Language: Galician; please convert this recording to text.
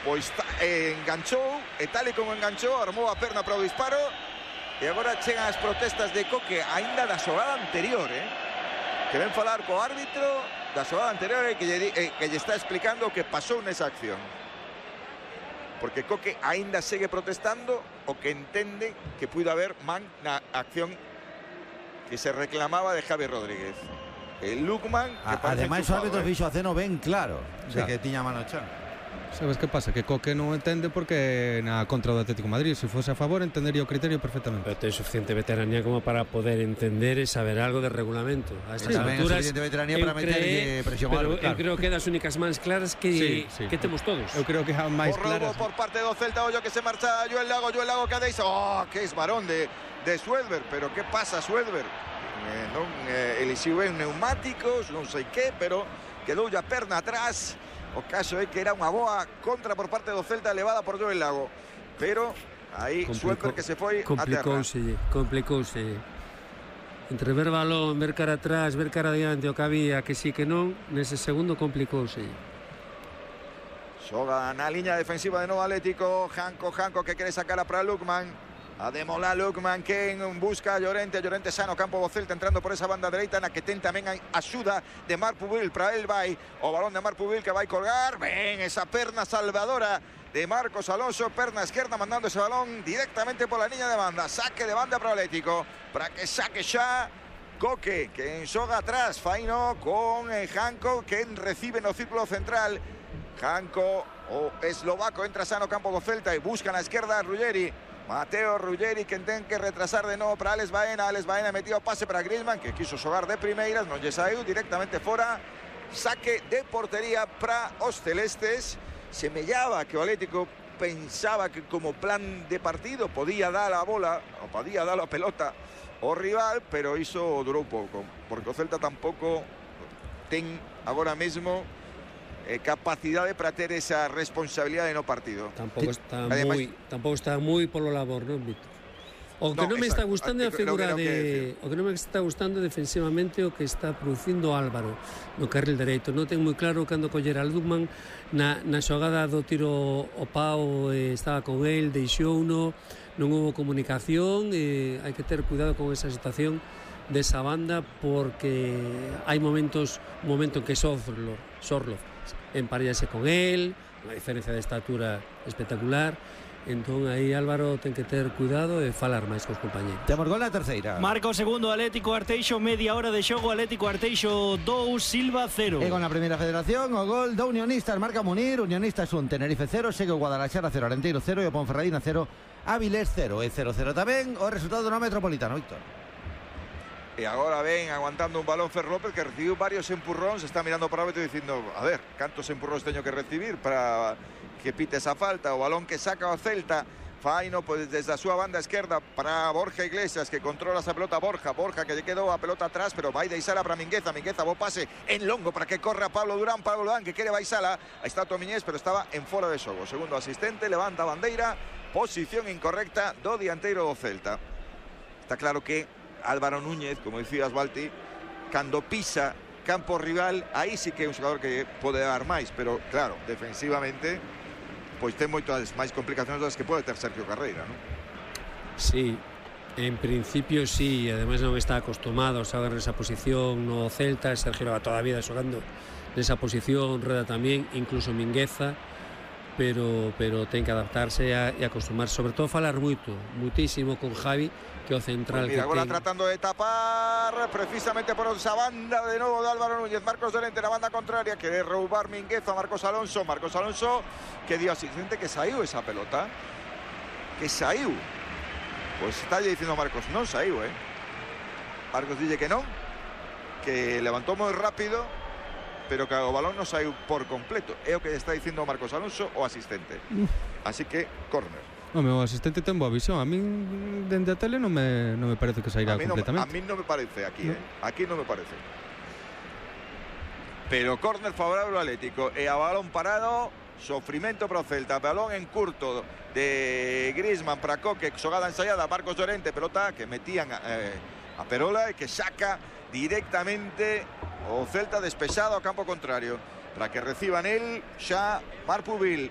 pois enganchou, e tal e como enganchou, armou a perna para o disparo, e agora chegan as protestas de Coque aínda da xogada anterior, que ven falar co árbitro da xogada anterior e que lle está explicando o que pasou nesa acción. Porque Coque aínda segue protestando o que entende que puido haber man na acción que se reclamaba de Javi Rodríguez. El Lukman, ademais o árbitro fixo a ceno ben claro de que tiña mano chan. Sabes que pasa? Que Coque non entende porque na contra do Atlético de Madrid, se fose a favor, entendería o criterio perfectamente. Pero ten suficiente veteranía como para poder entender e saber algo de regulamento. A estas alturas, suficiente veteranía para meter presión. Pero eu creo que das únicas mans claras que temos todos. Eu creo que a máis claras. Por parte do Celta, ollo que se marcha Joel Lago que deixa. Que esbarón de Suedberg, pero que pasa Suedberg? Elixiu ben neumáticos, non sei que, pero quedou a perna atrás. O caso é que era unha boa contra por parte do Celta levada por Joel Lago, pero aí Suedberg que se foi a terra. Complicouse. Entre ver balón, ver cara atrás, ver cara adiante, o que había, que sí que non, nese segundo complicouse. Xoga na liña defensiva de novo Atlético, Janko que quere sacar para Lukman. A demolar Lukman, que busca a Llorente xa no campo do Celta, entrando por esa banda dereita, na que ten tamén a axuda de Marc Pubil. Para el vai o balón de Marc Pubil, que vai colgar. Ben, esa perna salvadora de Marcos Alonso, perna esquerda, mandando ese balón directamente por la liña de banda. Saque de banda para o Atlético, para que saque xa Coque, que xoga atrás, faino con Janko, que recibe no círculo central. Janko, o eslovaco, entra xa no campo do Celta e busca na esquerda a Ruggeri. Mateo Ruggeri, que ten que retrasar de novo para Alex Baena. Alex Baena metido pase para Griezmann, que quiso xogar de primeiras, non lle saiu, directamente fora. Saque de portería para os celestes. Semellaba que o Atlético pensaba que como plan de partido podía dar a bola, ou podía dar a pelota ao rival, pero iso durou pouco, porque o Celta tampouco ten agora mesmo capacidade para ter esa responsabilidade no partido. Tampouco está moi polo labor, non, Víctor? O que non me está gustando é a figura de... O que non me está gustando defensivamente o que está producindo Álvaro no carril dereito. Non ten moi claro cando coller a Lukman na xogada do tiro o pau, estaba con el, deixouno, non houve comunicación, hai que ter cuidado con esa situación desa banda, porque hai un momento en que Sorloth emparellase con él, unha diferencia de estatura espectacular. Entón aí Álvaro ten que ter cuidado e falar máis cos compañeros. Temos gol na terceira. Marco segundo Atlético Arteixo, media hora de xogo, Atlético Arteixo 2, Silva 0. E con a primeira federación, o gol do Unionistas, marca Munir, Unionistas 1, Tenerife 0, segue o Guadalajara 0, Arenteiro 0 e o Ponferradina 0, Avilés 0. E 0-0 tamén o resultado no Metropolitano, Víctor. E agora ven aguantando un balón Fer López, que recibiu varios empurróns, está mirando para o árbitro dicindo, a ver, cantos empurróns teño que recibir para que pite esa falta. O balón que saca o Celta, faino pois desde a súa banda esquerda para Borja Iglesias, que controla esa pelota. Borja que lle quedou a pelota atrás, pero vai deixala para Mingueza, bo pase en longo para que corra Pablo Durán, que quere baixala. Aí está Tomiñés, pero estaba en fora de xogo. Segundo asistente, levanta a bandeira, posición incorrecta do dianteiro do Celta. Está claro que Álvaro Núñez, como dicías, Balti, cando pisa campo rival, aí sí que é un xogador que pode dar máis, pero claro, defensivamente pois ten moitas máis complicacións das que pode ter Sergio Carreira, non? Sí, en principio sí, ademais non está acostumado a xogar nesa posición no Celta. Sergio leva toda a vida xogando nesa posición, Reda tamén, incluso Mingueza, pero ten que adaptarse e acostumar, sobre todo falar muitísimo con Javi, que o central pues mira, agora tratando de tapar precisamente por esa banda de novo de Álvaro Núñez. Marcos Llorente na banda contraria, quere roubar Mingueza, Marcos Alonso que dio asistente, que saiu esa pelota, que saiu. Pois está dicindo Marcos, non saiu, Marcos dille que non, que levantou moi rápido, pero que o balón non saiu por completo. É o que está dicindo Marcos Alonso, o asistente. Así que, córner. O meu asistente ten boa visión. A min dende a tele non me parece que sairá completamente. A mí non me parece aquí, Aquí non me parece. Pero córner favorable ao Atlético. E a balón parado, sofrimento para o Celta. Balón en curto de Griezmann para Coque, xogada ensaiada, Marcos Llorente, pelota que metían a Perola e que saca directamente o Celta despexado ao campo contrario, para que reciban el xa Marc Pubil.